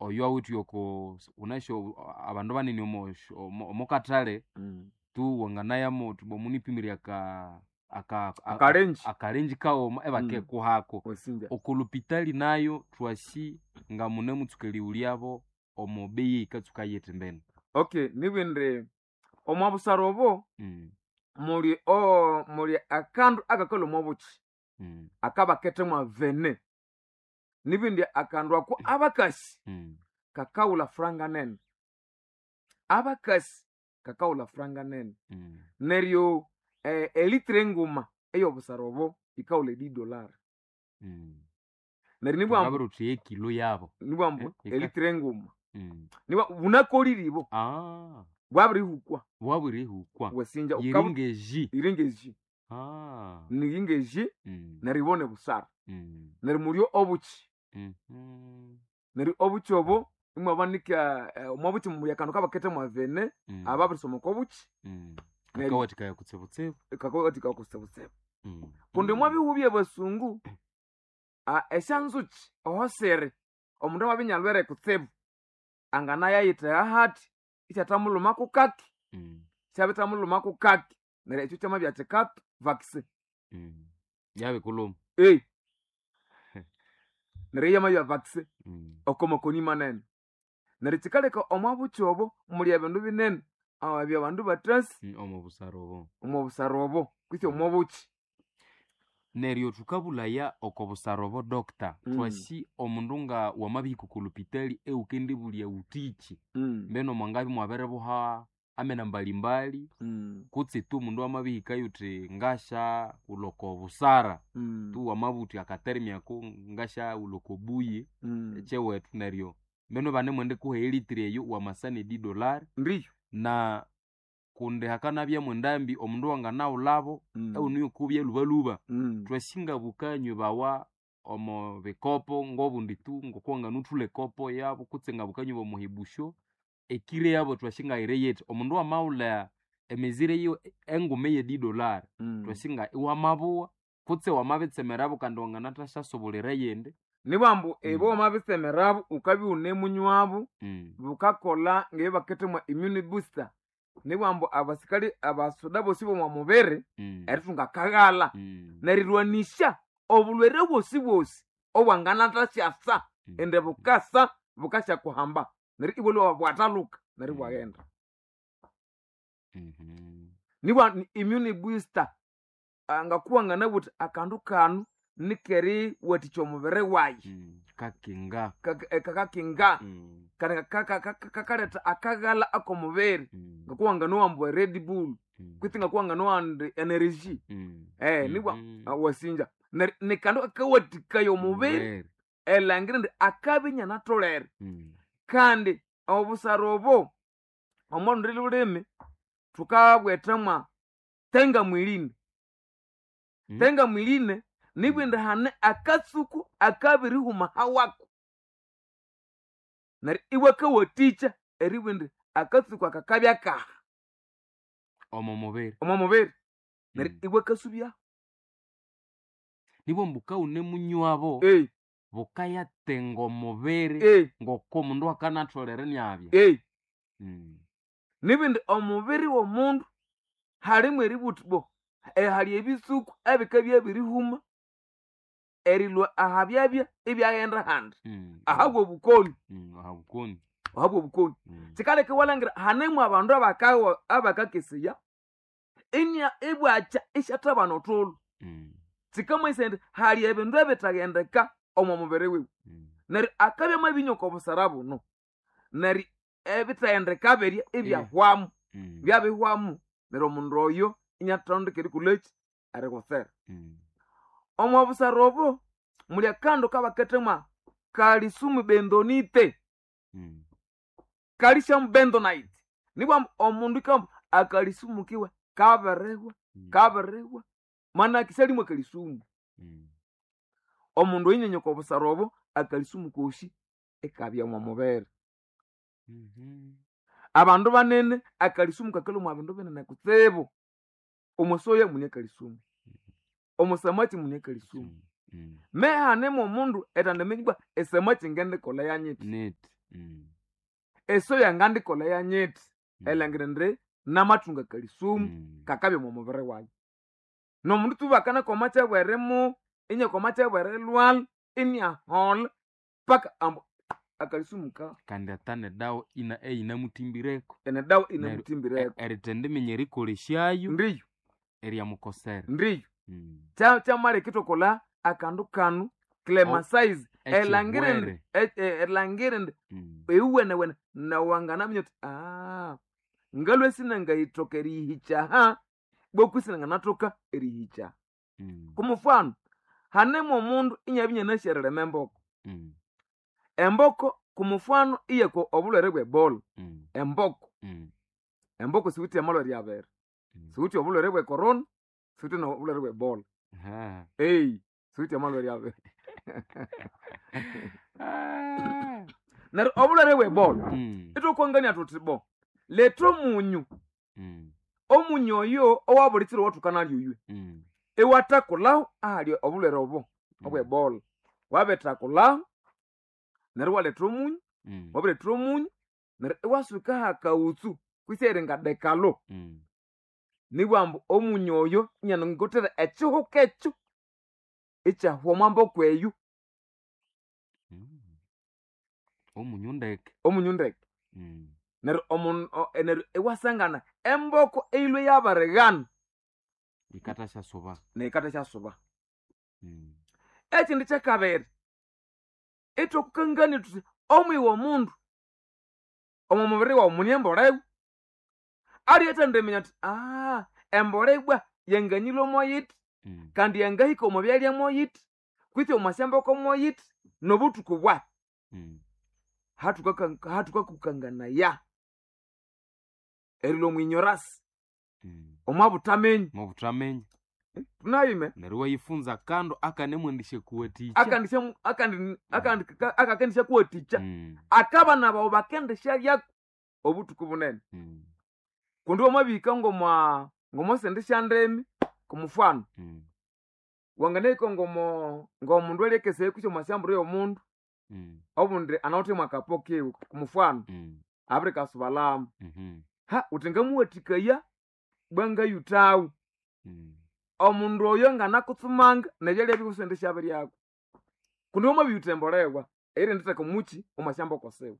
Oyo awithe oko wunasi abandu banene omo kathale tu wanganayamo wuthi bwa munipimire aka Akalenji. akalenji kaghuma ibakikuhako. Wasinja. Oko lupitali nayo thwasi nga munemutsuka erighulyabo omo beyi eyikatsuka yithi mbene. Okay, nibindi omwa busara obo muli o muli akandu akakalhwa omo bukyi akabakethemwa vene. Nibindi akandu ako abakasi kakawulha franga nene. Abakasi kakawulha franga nene. Neryo elitre enguma ey'obusara obo yikawulha e $10. Neryo nibwa ambu Thungabwira thuthi yekilo yabo. nibwa ambu Eh, elitre enguma. Nibwa bunakolire ibo. Bwabirihukwa. Bwabirihukwa. Wasinja Yiringeji. Yiringeji. Niringeji neryo ibone busara. Neryo mulyo obuki. Neryo obuki obo imwabanika omwa buki muli akandu kabakethemwa vene ababirisoma oko buki. Neryo Kakawathikaya kutsibutsibu. kakawathikaya kutsibutsibu. Kundi omwa bihugho by'abasungu esyanzuki oho siri omundu amabya inyalhwere kutsibu anganayayithegha hathi isyathamulhumako kaki, syabithamulhumako kaki neryo ekyo kyamabya kikatu vaccine. Yabikulhuma. Neryo yamabya vaccine oko makoni manene. Neryo kyikaleka omwa buki obo muli ebindu binene ebyabandu bathasi Omo busara obo. omo busara obo kwisi omo buki. Neryo thukabulhaya oko busara obo doctor, thwasi omundu nga wamabihika oko lupitali ewukendibulya wuthiki, mbeno mwangabya imwabiribuha amena mbalimbali, kutse tu omundu amabihikayo wuthi ngasyaghulha oko busara, tu wamabugha wuthi akaterimi ako ngasyaghulha oko buyi ekyewethu neryo mbeno ibanemwendikuha elitiri eyo wamasa ne $10. Ndiyo. Na kundi hakanabya mwendambi omundu wanganaghulhabo ewunuyo okubya lhubalhuba. Thwasi ngabukanywebawa omo bikopo ngobundi tu ngokuwanganuthulha ekopo yabo kutse ngabukanywa omo hibusyo, ekiro yabo thwasi ngayiri yithi. Omundu wamaghulha emizire yiwe enguma eye $10, thwasi nga iwamabuwa kutse wamabitsemerabo kandi wanganathasyasobulira eyindi. Nibwa ambu ibo wamabitsemerabo wukabya iwunemunywabo bukakolha ngebyabakethemwa immune booster. Nibwa ambu abasikali abasuda bosi b'omwa mubiri erithunga akaghalha nerirwanisya obulhwere bwosi obwanganathasyasa indi bukasa bukasyakuhamba neryo ibwalhwa bwathalhuka neryo ibwaghenda. Nibwa immune booster ngakuwanganabugha wuthi akandu kanu nikeriwathikya omubiri wayi. Kakinga. Kakakinga kandi kakaletha akaghalha ak'omubiri ngakuwanganowa ambu e Red Bull kwitsi ngakuwanganowa indi energy. Nibwa wasinja. Neryo nikandu kakawathikaya omubiri erilhangira indi akabya inyanatholere. Kandi obusara obo omo lundi lhulimi thukabwethamwa tenga mwilini. Tenga mwilini nibwa indi hane akatsuku akabirihuma hawako. Neryo iwakawathikya eribugha indi akatsuku aka kabya kaha. Omo mubiri. Omo mubiri. Neryo iwakasubyaho. Nibwa ambu wukawunemunywabo bukayatenga omubiri ng'okomundu akanatholere inabya. Nibindi omubiri w'omundu halimu eribugha wuthi bo hali ebitsuku ebikabya byabirihuma erilhwa ahabyabya ibyaghenda ahandi ahabwa obukoni. Ahabukoni. Ahabwa obukoni. Kyikaleka iwalhangira hanemu abandu abakakeseya inya ibwakya isyathabana othulhu. Kyikamanyisaya indi hali ebindu ebitaghendeka omo mubiri wiwe. Neryo akabya amabinywa oko busara buno neryo ebitaghendeka birya ibyahwamu. Byabihwamu neryo omundu oyo inyatondeka erikolhaki erikutsera. Omo busara obo muli akandu kabakethemwa calcium bentonite. Calcium bentonite. Nibwa ambu omundu ikambu akalisumu kiwe kabirihwa kabirihwa manake syalimu akalisumu. Omundu oyinyenya oko busara obo akalisumu kosi ikabya omo mubiri. Abandu banene akalisumu kakalhwa omwa bindu binene kutsibu. Omo soya mune akalisumu, omo samaki mune akalisumu. Mehanemu omundu etandiminya ibwa esamaki ngendikolha yanyithi. Neti. Eso yangandikolha yanyithi erilhangira indi namathunga kalisumu kakabya omo mubiri wayi. N'omundu tu bakanakoma kyabwerimu inyakoma kyabwerilhwalha iniaholha paka ambu akalisumu ka Kandi ata nedawa ina eyinamuthimbireku. Enedawa Neryo inamuthimbireku. Erithendiminya erikolesyayo Ndiyo. eryamukosera. Ndiyo. Kyamaleka ithwakolha akandu kanu clemasize erilhangira indi erilhangira indi iwuwenewene nawanganaminya wuthi ngalhwe sinangayithoka eriyihikya aha beku isinanganathoka eriyihikya aha. Kumufano hanemu omundu inyabya inyanasi erilima emboko. Emboko kumufano iyakwa obulhwere bwe Ebola. Emboko. Emboko siwithe amalhwere abiri. Siwithe obulhwere bwe corona, siwithe nobulhwere bwe Ebola. Siwithe amalhwere abiri. Neryo obulhwere bwe Ebola ithwakwangania thuthi bo letha omunyu. Omunyu oyo owabuli kiro owathukanalya oywe. Iwathakulhaho ahali obulhwere obo obwe Ebola. Wabithakulhaho neryo iwaletha omunyu, wabiretha omunyu neryo iwasuka hakaghutsu kwisi eringa dekalo. Nibughambu ambu omunyu oyo inyanangothera ekihuka ekyo ikyahwa omwa mboko eyo. Omunyu ndeke. Omunyu ndeke. Neryo neryo iwasangana emboko eyilhwe yabirighana. Yikathasyasuba. Neyikathasyasuba. Ekindi kyakabiri, ithwakukangania thuthi omwiwe omundu omo mubiri wawu mune embolewa. Aliyathendiminya athi embolea ibwa yanganyilhwa moyithi kandi yangahika omo byalya moyithi kwitsi omo syamboko moyithi nobuthuku bwahi. Hathukakukanganaya erilhwa omwinyorasi omwa buthaminya. Omwa buthaminya. Tunayime. Neryo iwayifunza akandu akanemwendisyakuwathikya. Akakendisyakuwathikya. Akabana bawu bakendisyalyako obuthuku bunene. Kundi wamabihika ngomwa ngomosindi syandimi kumufano. Wanganahika ngomo ngomundu alyakesaya kwisi omwa syamburu y'omundu obundi anawithe mwakapo kiwe kumufano abirikasubalhamu. Ha wuthi ngamuwathikaya bwa ngayuthawu. Omundu oyo nganakutsumanga nebyalya biwe isindisyabiryako. Kundi wamabiyutha embolewa eyirinditheka omuki omwa syamboko siwe.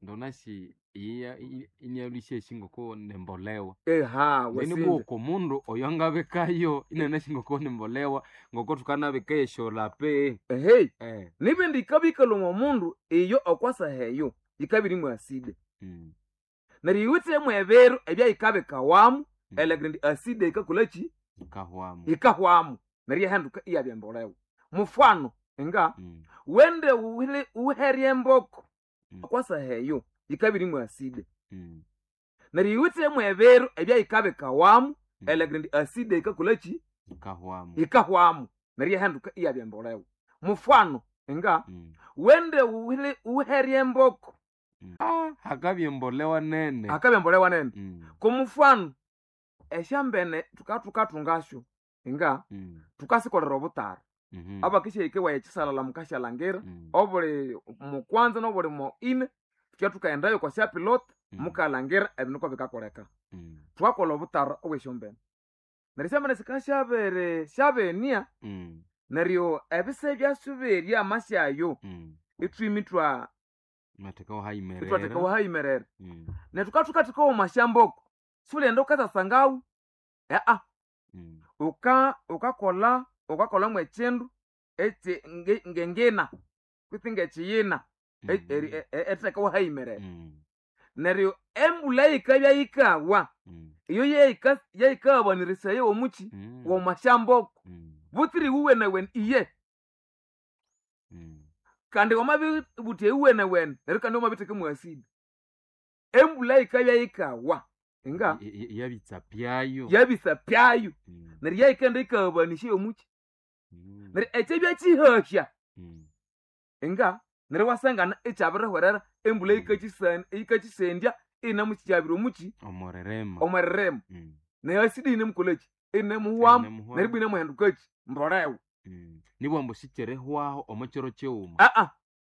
Ndonasi iya inyalusya ngoko nembolewa. Eha Then wasinja. bwoko omundu oyo angabikayo inanasi ngoko nembolewa ngoko thukanabika esyolape. Ehe. Nibindi yikabya omundu iyo okwasaha eyo yikabya irimu aside. Neryo yiwithemu ebiru ebyayikabikawamu erilhangira indi aside yikakolhaki? Yikahwamu. Yikahwamu neryo iyahinduka iyabya embolewa. Mufano nga wende wuherye emboko okwasaha eyo yikabya irimu aside. Neryo yiwithemu ebiru ebyayikabikawamu erilhangira indi aside yikakolhaki? Yikahwamu. Yikahwamu neryo iyahinduka iyabya embolewa. Mufano nga wende wuherye emboko. Hakabya embolewa nene. Hakabya embolewa nene. Kumufano esyambene thukathungasyo nga thukasikolera obutara. Abakisyahika ewaya ekisalala mukasyalangira obuli mukwanza nobuli mo ine thukya thukaghendayo okwa syapilot mukalhangira ebindu ngokubikakoleka. Thukakolha obutara obwesyombene. Neryo esyambene sikasyabiri syabenia neryo ebisa ebyasyo berya amasyayo ithwima ithwa Iwatheka ithwatheka wahayimerera. Neryo thukabya thukathekawo omwa syamboko siwulighenda wukathasangawu wukakolha mwekyindu ekyi ngengina kwitsi ngekiyina eritheka wahayimerera. Neryo embulha yikabya yikawa iyo yeyikaghabanirisaya omuki womwa syamboko butsira iwuwenewene iye. Kandi wamabibutha iwuwenewene neryo kandi wamabitheka mwa asidi. Embulha yikabya yikawa nga Yabitsa pyayo. Yabitsa pyayo. Neryo yayikaghenda yikaghabanisya omuki. Neryo ekyabya kyihahya nga neryo iwasangana ikyabirihwerera embulha yikakyisendya inamukyabira omuki Omweririma. Omweririma. Neryo asidi yinemukolhaki? Inemuhwamu neryo ibwa inemuhendukaki? Mbolewa. Nibughambu sikyirihwaho omo kiro kighuma.